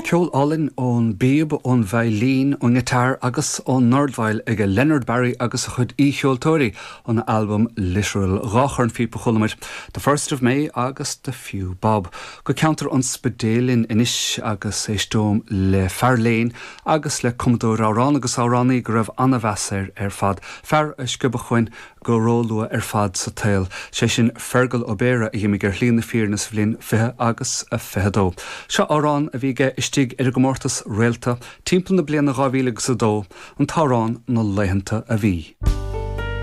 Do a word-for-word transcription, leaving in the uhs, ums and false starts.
Ceol álainn ón bpíob ón veidhlín ón ngiotár agus ón ndordveidhil ag Leonard Barry agus a chuid aoicheoltóirí óna albam Literal dhá chornphíopa a chuala muid, The First of May agus The Few Bob. Go ceantar an Spidéil linn anois agus éisteom le fear léinn agus le cumadóir amhrán agus amhránaí go raibh an-mheas air ar fad. Fear a sciobadh chugainn go róluath ar fad sa tsaol. Sé sin Fergal Ó Béarra a d'imigh ar shlí na fírinne sa bhliain fiche agus a fiche dó. Seo amhrán a bhí aige istigh ar an gcomórtas Réalta timpeall na bliana dhá mhíle agus a dó, an t-amhrán na laethanta a bhí.